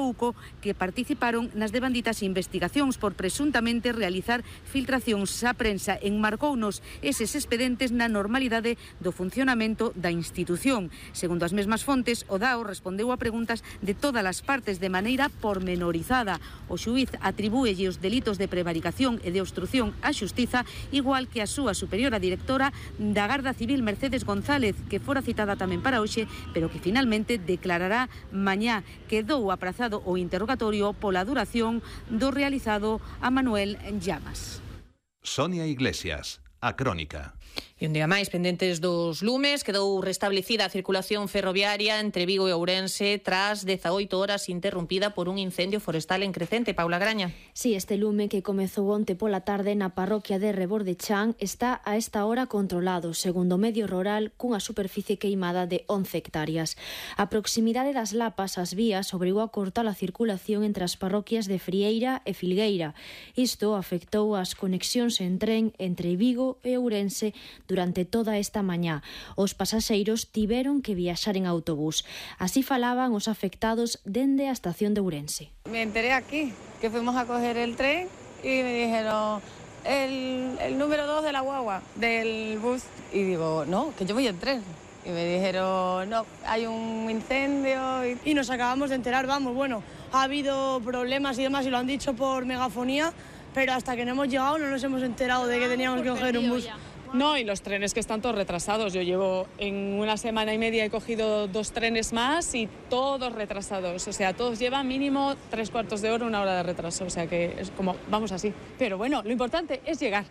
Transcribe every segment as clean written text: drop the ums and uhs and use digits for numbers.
UCO que participaron nas devanditas investigacións por presuntamente realizar filtracións á prensa. Enmarcounos eses expedientes na normalidade do funcionamento da institución. Segundo as mesmas fontes, o DAO respondeu a preguntas de todas as partes de maneira pormenorizada. O xuíz atribúelle os delitos de prevaricación e de obstrución á xustiza, igual que a súa superiora directora da Garda Civil, Mercedes González, que fora citada tamén para hoxe, pero que finalmente declarará mañá. Quedou aprazado o interrogatorio pola duración do realizado a Manuel Llamas. Sonia Iglesias, A Crónica. E un día máis, pendentes dos lumes, quedou restablecida a circulación ferroviaria entre Vigo e Ourense tras 18 horas interrumpida por un incendio forestal en Crecente. Paula Graña. Sí, este lume que comezou onte pola tarde na parroquia de Rebordechán está a esta hora controlado, segundo Medio Rural, cunha superficie queimada de 11 hectáreas. A proximidade das lapas ás vías obrigou a cortar a circulación entre as parroquias de Frieira e Filgueira. Isto afectou as conexións en tren entre Vigo e Ourense durante toda esta mañá. Os pasaxeiros tiveron que viaxar en autobús. Así falaban os afectados dende a estación de Ourense. Me enteré aquí, que fuimos a coger el tren y me dijeron el número 2 de la guagua, del bus. Y digo, no, que yo voy en tren. Y me dijeron, no, hay un incendio. Y nos acabamos de enterar, vamos, bueno, ha habido problemas y demás y lo han dicho por megafonía, pero hasta que no hemos llegado no nos hemos enterado de que teníamos que coger un bus. No, y los trenes que están todos retrasados. Yo llevo en una semana y media, he cogido 2 trenes más y todos retrasados. O sea, todos llevan mínimo 3/4 de hora, 1 hora de retraso. O sea que es como, vamos así. Pero bueno, lo importante es llegar.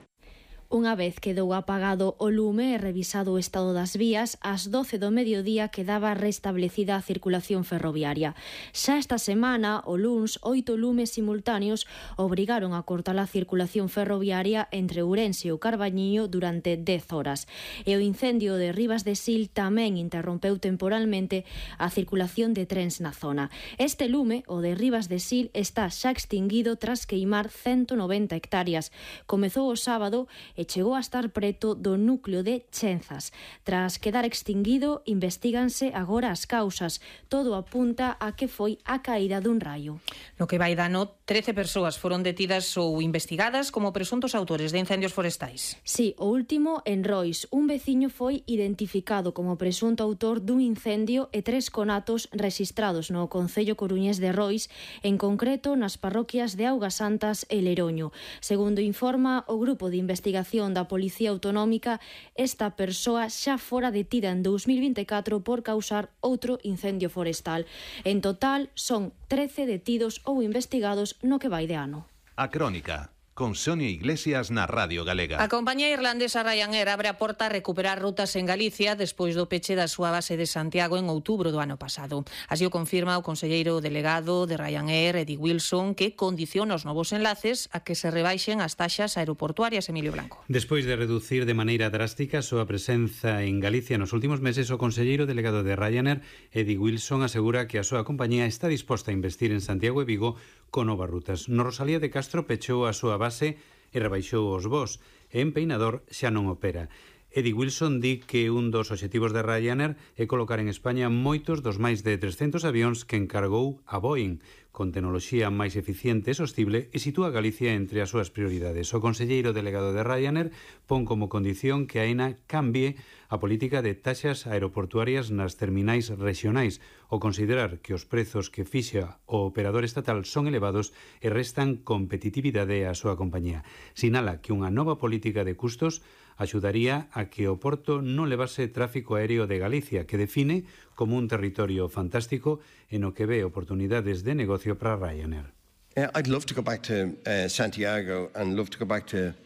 Unha vez quedou apagado o lume e revisado o estado das vías, ás 12 do mediodía quedaba restablecida a circulación ferroviaria. Xa esta semana, o luns, 8 lumes simultáneos obrigaron a cortar a circulación ferroviaria entre Ourense e o Carballiño durante 10 horas. E o incendio de Ribas de Sil tamén interrompeu temporalmente a circulación de trens na zona. Este lume, o de Ribas de Sil, está xa extinguido tras queimar 190 hectáreas. Comezou o sábado e chegou a estar preto do núcleo de Chenzas. Tras quedar extinguido, investíganse agora as causas. Todo apunta a que foi a caída dun raio. No que vai de ano, 13 persoas foron detidas ou investigadas como presuntos autores de incendios forestais. Sí, o último en Rois. Un veciño foi identificado como presunto autor dun incendio e 3 conatos rexistrados no concello coruñés de Rois, en concreto nas parroquias de Augas Santas e Leroño. Segundo informa o grupo de investigación da Policía Autonómica, esta persoa xa fora detida en 2024 por causar outro incendio forestal. En total, son 13 detidos ou investigados no que vai de ano. A Crónica, con Sonia Iglesias na Radio Galega. A compañía irlandesa Ryanair abre a porta a recuperar rutas en Galicia despois do peche da súa base de Santiago en outubro do ano pasado. Así o confirma o conselleiro delegado de Ryanair, Eddie Wilson, que condiciona os novos enlaces a que se rebaixen as taxas aeroportuarias. Emilio Blanco. Despois de reducir de maneira drástica a súa presenza en Galicia nos últimos meses, o conselleiro delegado de Ryanair, Eddie Wilson, asegura que a súa compañía está disposta a investir en Santiago e Vigo con novas rutas. No Rosalía de Castro pechou a súa base e rebaixou os voos, e en Peinador xa non opera. Eddie Wilson di que un dos obxectivos de Ryanair é colocar en España moitos dos máis de 300 avións que encargou a Boeing, con tecnoloxía máis eficiente e sostible, e sitúa a Galicia entre as súas prioridades. O conselleiro delegado de Ryanair pon como condición que a AENA cambie a política de taxas aeroportuarias nas terminais rexionais, o considerar que os prezos que fixa o operador estatal son elevados e restan competitividade á súa compañía. Sinala que unha nova política de custos axudaría a que o Porto non levase tráfico aéreo de Galicia, que define como un territorio fantástico en o que ve oportunidades de negocio para Ryanair. I'd love to go back to Santiago and love to go back to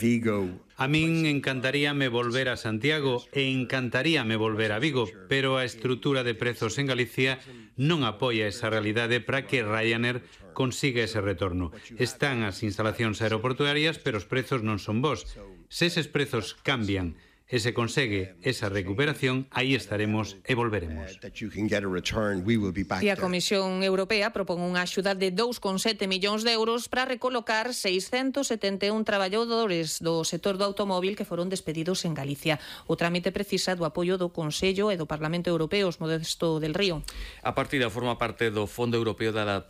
Vigo. A min encantaríame volver a Santiago e encantaríame volver a Vigo, pero a estrutura de prezos en Galicia non apoia esa realidade para que Ryanair consiga ese retorno. Están as instalacións aeroportuarias, pero os prezos non son bons. Se eses prezos cambian e se consegue esa recuperación, aí estaremos e volveremos. E a Comisión Europea propón unha axuda de 2,7 millóns de euros para recolocar 671 traballadores do sector do automóvil que foron despedidos en Galicia. O trámite precisa do apoio do Consello e do Parlamento Europeo, Modesto del Río. A partida forma parte do Fondo Europeo de